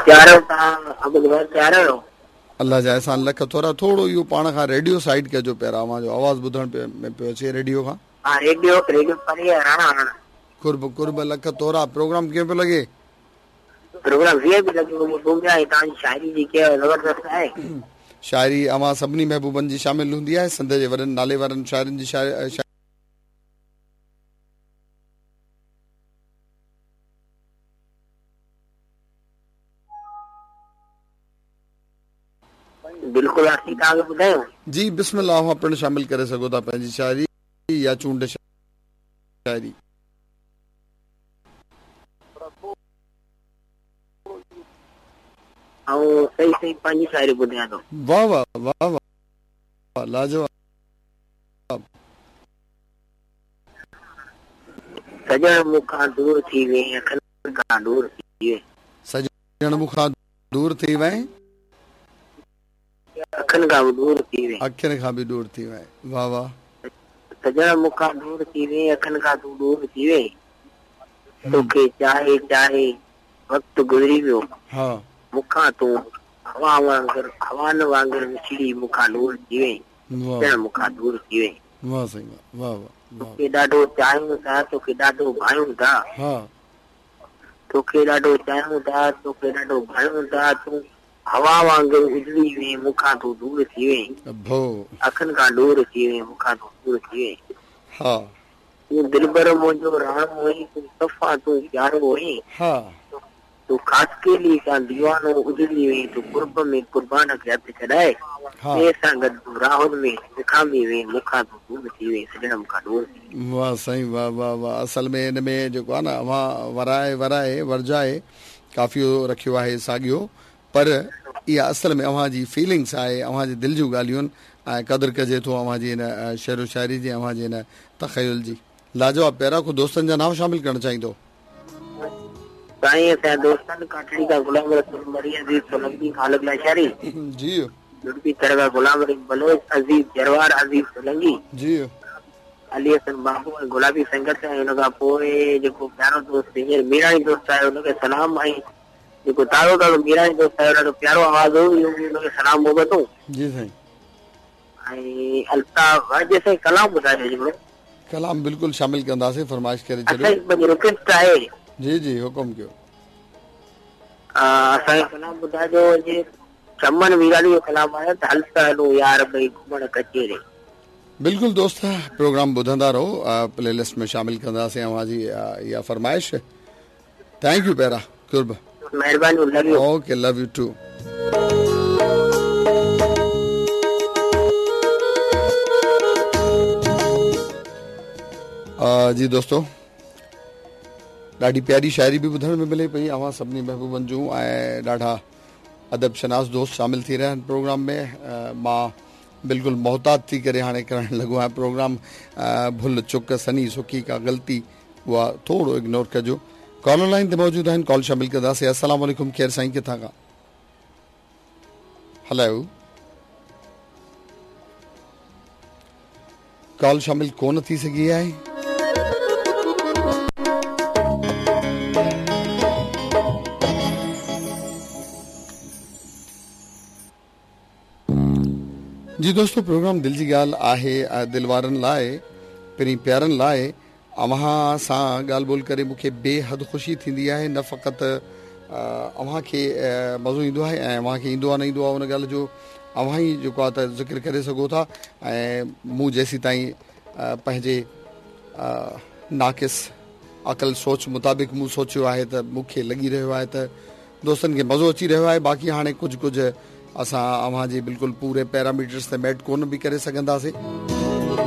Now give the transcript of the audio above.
تيار آهيو توهان عبد ڀائي تيار آهيو؟ الله جا احسان لک ٿورا ٿورو اهو پاڻ کان ريڊيو سائيڊ ڪجو پيارا اوهان جو آواز ٻڌڻ ۾ پيو اچي ريڊيو کان. ها ريڊيو ريڊيو پري آهي راڻا راڻا. قرب قرب لک ٿورا پروگرام ڪيئن پيو لڳي؟ پروگرام وي آء پي لڳي پيو ٻڌون پيا ۽ توهان جي شاعري جيڪي آهي زبردست آهي. شاعري اوهان سڀني محبوبن جي شامل هوندي آهي سنڌ جي وڏن نالي وارن شاعرن جي شاعري. بلڪل اسين توهان کي ٻڌايون. جي بسم الله اوهان پڻ شامل ڪري سگهو ٿا پنهنجي شاعري يا چونڊ شاعري. آئون صحيح صحيح پنهنجي شاعري ٻڌايان ٿو. واه واه واه واه لاجواب. سڄڻ مون کان دور ٿي وئين اکين کان ڏور ٿي وئين. سڄڻ مون کان دور ٿي وئين. اکين کان به ڏور ٿي وئين. اکين کان به ڏور ٿي وئين واه واه. سڄڻ مون کان ڏور ٿي وئين اکين کان تون ڏور ٿي وئين. توکي چاهي چاهي وقت گذري ويو. ها. مون کان تون هوا وانگر هوائن وانگر وڇڙي مون کان ڏور ٿي وئين. سڄڻ مون کان ڏور ٿي وئين. واه سائين واه واه واه. توکي ڏاڍو چاهيون ٿا توکي ڏاڍو ڀايون ٿا. ها. توکي ڏاڍو چاهيون ٿا توکي ڏاڍو ڀايون ٿا تون هوا وانگر اڏري وئين مون کان تون دور ٿي وئين. اڀو. اکين کان ڏور ٿي وئين مون کان تون دور ٿي وئين. ها. تون دلبر منهنجو راڻو هئين تون صفا تون پيارو هئين. ها. تون خاصخيلي کان ديوانو اجڙي وئين تون قرب ۾ قربان کي هٿ ڇڏائي ها. ٻئي سان گڏ تون راهن ۾ وکامي وئين مون کان تون دور ٿي وئين سڄڻ مون کان ڏور ٿي وئين. واه سائين واه واه واه اصل ۾ ان ۾ جيڪو آهي نه اوهان ورائي ورائي ورجائي قافيو رکيو آهي ساڳيو پر اها اصل ۾ اوهان جي فيلنگس آهي اوهان جي دل جون ڳالهيون آهن ۽ قدر ڪجي ٿو اوهان جي ان شعر و شاعري جي اوهان جي ان تخيل جي. لاجواب پيارا ڪو دوستن جا نانء شامل ڪرڻ چاهيندو. سائين اسان جا دوستن ڪاٺڙي کان غلام رسول مري عزيز سولنگي خالق لاشاري جي. جڙپي ٿر کان غلام رحيم بلوچ عزيز جروار عزيز سولنگي جي. علي حسن بابو ۽ گلابي سنگت ۽ ان کان پوء جيڪو پيارو دوست هينئر ميراڻي دوست آهي ان کي سلام ۽ جيڪو تازو تازو ميراڻي دوست آيو ڏاڍو پيارو آواز هو اهو به ان کي سلام محبتون. جي سائين. ۽ الطاف جي سائين ڪلام ٻڌايو هڪڙو. ڪلام بلڪل شامل ڪنداسين فرمائش ڪري ڇڏيو. اسان جي پنهنجي رڪويسٽ آهي. جي جي حڪم ڪيو. اسان کي ڪلام ٻڌائجو جي چمن ميراڻي جو ڪلام آهي ته هل ته هلون يار ٻئي گهمڻ ڪچهري. بلڪل دوست پروگرام ٻڌندا رهو پلي لسٽ ۾ شامل ڪنداسين اوهان جي اها فرمائش. Thank you پيارا قرب. مهرباني love you. Okay love you too. جي دوستو ڏاڍي پياري شاعري به ٻڌڻ ۾ ملي پئي اوهان سڀني محبوبن جون ۽ ڏاڍا ادب شناس دوست شامل ٿي رهيا آهن پروگرام ۾ مان بلڪل محتاط ٿي ڪري هاڻي ڪرڻ لڳو آهيان پروگرام ڀل چڪ سني سڪي ڪا غلطي اها ٿورو اگنور ڪجو. ڪالر لائين تي موجود آهن ڪال شامل ڪنداسين السلام عليڪم ڪير سائين ڪٿان کان هلو ڪال شامل ڪون ٿي سگهي آهي جي دوستو پروگرام دل جي ڳالهه آهي دل وارن لاء پرين پيارن لاء اوهان سان ڳالهه ٻولهه ڪري مون کي بي حد خوشي ٿيندي آهي نه فقط اوهان کي مزو ايندو آهي ۽ اوهان کي ايندو آهي نه ايندو آهي ان ڳالهه جو اوهان ئي جيڪو آهي ته ذڪر ڪري سگهو ٿا ۽ مون جيسين تائين پنهنجي ناقص عقل سوچ مطابق مون سوچيو آهي ته مون کي لڳي رهيو آهي ته دوستن کي مزو اچي رهيو آهي باقي هاڻي ڪجهه ڪجهه اسان اوهان جي بلڪل پوري پيراميٽرس تي ميٽ ڪونه به ڪري سگهنداسين.